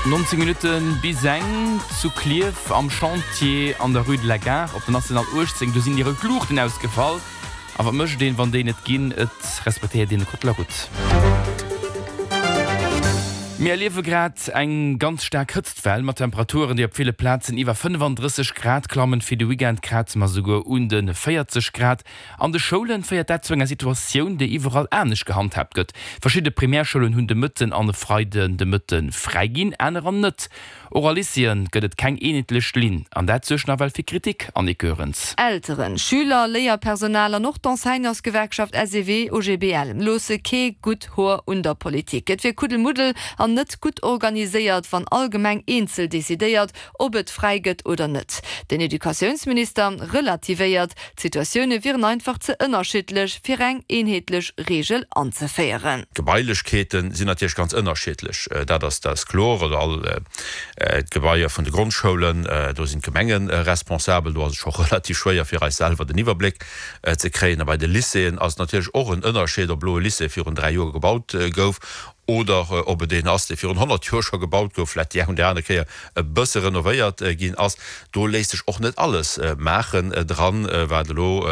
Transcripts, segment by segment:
19 Minutte bis eng zu Klierf am Chantier an der Rue de la Gare op der National 18. Do sinn direkt d'Luuchten ausgefall. A wat mécht een, wann déi net ginn? Et respektéiert een de Code de la route. Mir erliewe grad eng ganz staark Hëtztwell mat Temperaturen, déi op ville Plazen iwwer 35 Grad klammen. Fir de Weekend kraze mer souguer un de 40 Grad. An de Schoulen féiert dat zu enger Situatioun, déi iwwerall anescht gehandhaabt gëtt. Verschidde Primärschoulen hunn de Mëtten an e Freiden de Mëtte fräi ginn, anerer net. Och a Lycéeën gëtt et keng eenheetlech Linn an dat suergt nawell fir Kritik, Annick Goerens. Elteren, Schüler, Léierpersonal an och d'Enseignantsgewerkschaft SEW-OGBL loosse kee gutt Hoer un der Politik. Et wier Kuddelmuddel an net gutt organiséiert, wann all Gemeng eenzel decidéiert, ob et fräi gëtt oder net. Den Educatiounsminister relativéiert, D'Situatioune wieren einfach ze ënnerschiddlech, fir eng eenheetlech Reegel anzeféieren. D'Gebailechkeete sinn natierlech ganz ënnerschiddlech, dat ass dat ass kloer. Also all d'Gebaier vun de Grondschoulen, do sinn d'Gemenge responsabel. Do ass et scho relativ schwéier fir eis selwer den Iwwerbléck ze kréien. A bei de Lycéeën ass et natierlech och en Ënnerscheed, ob elo e Lycée virun 3 Joer gebaut gouf oder ob et een ass, dee virun 100 Joer scho gebaut gouf, vläicht déi eng oder aner Kéier e bësse renovéiert ginn ass. Do léisst sech och net alles maachen dran, wat elo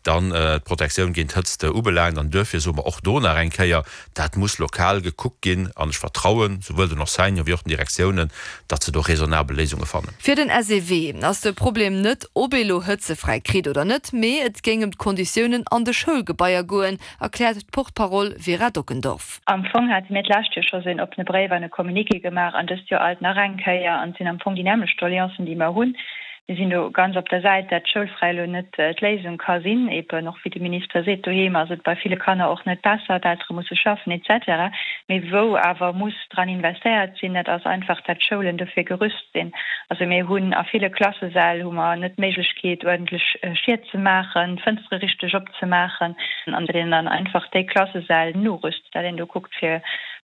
dann d'Protektioun géint Hëtzt ubelaangt. An duerfir soe mer och do nach eng Kéier, dat muss lokal gekuckt ginn. An ech vertrauen souwuel den Enseignanten wéi och den Direktiounen, datt se do raisonnabel Léisunge fannen. Fir den SEW ass de Problem net, ob ee lo hëtzefräi kritt oder net, mee et géing ëm d'Konditiounen an de Schoulgebaier goen, erkläert d'Porte-parole Vera Dockendorf. Am Fong hate mir d'lescht Joer scho sou en oppene Bréif an e Communiqué gemaach an dëst Joer alt nach eng Kéier. An et sinn am Fong déi nämmlecht Doleancen, déi mer hunn. Mir sinn do ganz op der Säit, dat schoulfräi elo net d'Léisung ka sinn. Eben och wéi de Minister seet, doheem ass et bei ville Kanner och net besser, d'Eltere musse schaffen et cetera. Mee wou awer muss dran investéiert sinn, dat ass einfach, dat d'Schoulen dofir gerüst sinn. Also mir hunn a ville Klassesäll hu mer net d'Méiglechkeet uerdentlech Schied ze maachen, d'Fënstere richteg op ze maachen an datt een dann einfach déi Klassesäll norüst, datt een do kuckt fir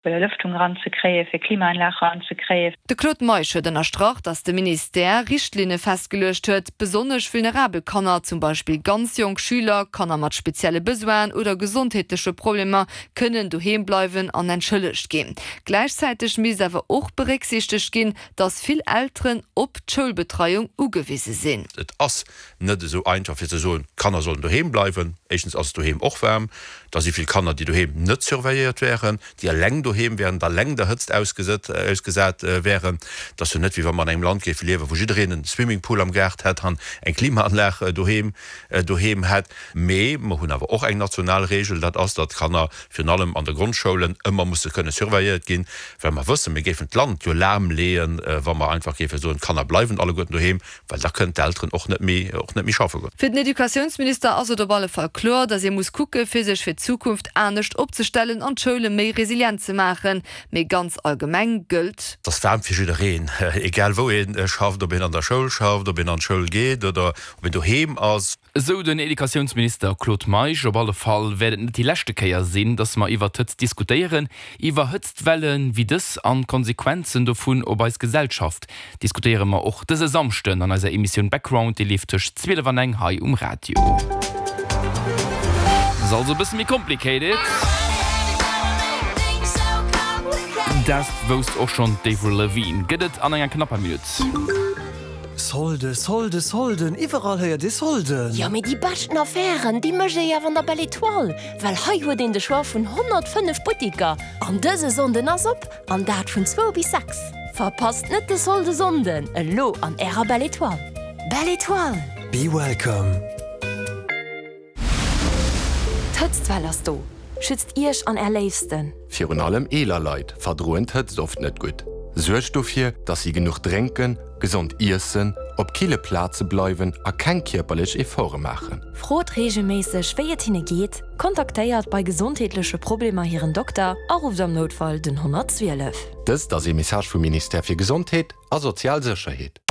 Belëftung eranzekréien, fir Klimaanlag eranzekréien. De Claude Meisch huet ënnerstrach, datt de Ministère Richtlinne festgeluecht huet, besonnesch vulnerabel Kanner, zum Beispill ganz jonk Schüler, Kanner mat spezielle Besoinen oder gesondheetleche Problemer, kënnen doheem bleiwen an entschëllegt ginn. Gläichzäiteg misst awer och berécksiichtegt ginn, datt vill Elteren op d'Schoulbetreiung ugewise sinn. Et ass net esou einfach fir ze soen, d'Kanner sollen doheem bleiwen. Éischtens ass et doheem och waarm, da si vill Kanner, déi doheem net surveilléiert wären, déi eleng doheem wären, eleng der Hëtzt ausgesat wären. Et ass jo net, wéi wa mer an engem Land géife liewen, wou jiddereen en Swimmingpool am Gaart hätt an eng Klimaanlag doheem doheem hätt. Mee mer hunn awer och eng national Regel, dat ass, datt d'Kanner virun allem an de Grondschoulen ëmmer musse kënne surveilléiert ginn, well mer wëssen, mir géifen d'Land jo lahmleeën, wa mer einfach géife soen, d'Kanner bleiwen alleguerten doheem. Well da kënnen d'Elteren och net méi, och net méi schaffe goen. Fir den Educatiounsminister ass et op alle Fall kloer, datt ee muss kucke fir sech fir d'Zukunft anescht opzestellen an d'Schoule méi resilient ze maachen. Mee ganz allgemeng gëllt. Et ass waarm fir jiddereen, egal wou ee schafft, ob een an der Schoul schafft, ob een an d'Schoul geet oder ob een doheem ass. Esou den Educatiounsminister Claude Meisch. Op alle Fall wäert et net déi leschte Kéier sinn, datt mer iwwer d'Hëtzt diskutéieren. Iwwer Hëtztwelle wéi dës an d'Konsequenzen dovun op eis Gesellschaft diskutéiere mer och dëse Samschden an eiser Emissioun Background. Déi leeft tëscht 12 an eng hei um Radio. Ass also e bësse méi complicated. Dat wousst och schonn d'Avril Lavigne. Gëtt et an enger knapper Minutt. Solde, Solde, Solden, iwwerall héiert ee Solden! Jo, mee déi beschten Affären, déi mécht ee jo awer an der Belle Etoile, well hei huet een de Choix vun 105 Buttiker an dëse Sonnden ass op, an dat vun zwou bis 6. Verpasst net de Solde-Sonnden, elo an ärer Belle Etoile. Belle Etoile! Be welcome! D'Hëtztwell ass do! Schützt Iech an Är Léifsten! Virun allem eeler Leit verdroen d'Hëtzt oft net gutt. Suergt dofir, dass si genuch drénken, gesond iessen, op kille Plaze bleiwen a keng kierperlech Efforte maachen. Frot reegelméisseg, wéi et hinne geet, kontaktéiert bei gesondheetleche Problemer hiren Dokter a rufft am Noutfall den 112. Dëst ass ee Message vum Ministère fir Gesondheet a sozial Sécherheet.